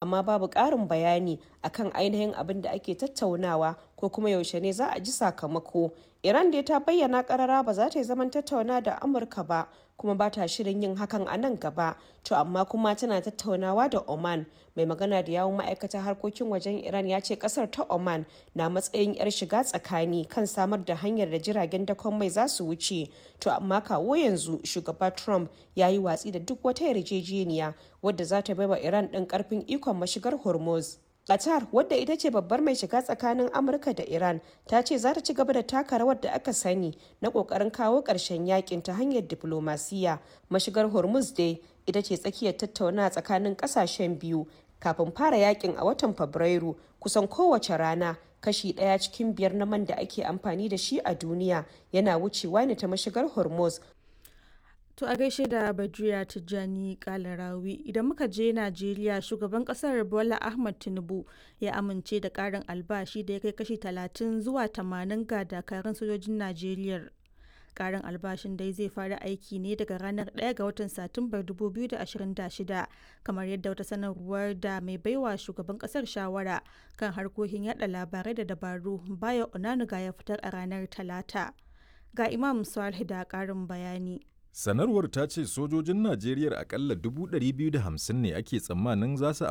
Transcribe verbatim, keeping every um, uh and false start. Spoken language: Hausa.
Amma babu ƙarin bayani akan ainihin abin da ake tattaunawa ko kuma yaushe ne za a ji sakamako. Iran dai ta bayyana karara ba za ta yi zaman tattaunawa da Amurka ba kuma ba ta shirin yin hakan a nan gaba, to amma kuma tana tattaunawa da Oman. Mai magana da yawun ma'aikatar harkokin wajen Iran ya ce kasar ta Oman na matsayin 'yar shiga tsakani kan samar da hanyar da jiragen dakon mai za su wuce, to amma kawo yanzu shugaba Trump ya yi watsi da duk wata yarjejeniya wadda za ta baiwa Iran ɗin karfin ikon mashigar Hormuz. Qatar, wadda ita ce babbar mai shiga tsakanin Amurka da Iran, ta ce za ta ci gaba da taka rawar da aka sani na kokarin kawo ƙarshen yakin ta hanyar diflomasiyya. Mashigar Hormuz dai ita ce tsakiyar tattaunawa tsakanin ƙasashen biyu kafin fara yakin a watan Fabrairu. Kusan kowace rana, kashi ɗaya cikin biyar na man da ake amfani da shi a duniya yana wucewa ne ta mashigar Hormuz. To a gaishe da Badriya Tijjani Kalarawi. Idan muka je Najeriya, shugaban kasar Bola Ahmad Tinubu ya amince da karin albashi da ya kai kashi talatin zuwa tamanin ga dakarun sojojin Najeriya. Karin albashin dai zai fara aiki ne daga ranar ɗaya ga watan Satumbar dubu biyu da ashirin da shida, kamar yadda wata sanarwar da mai baiwa shugaban kasar shawara kan harkokin yada labarai da dabaru, Bayo Onanuga, ya fitar a ranar Talata. Ga Imam Salih da karin bayani. Sanarwar ta ce sojojin Najeriya akalla dubu ɗari biyu da hamsin ne ake tsammanin za su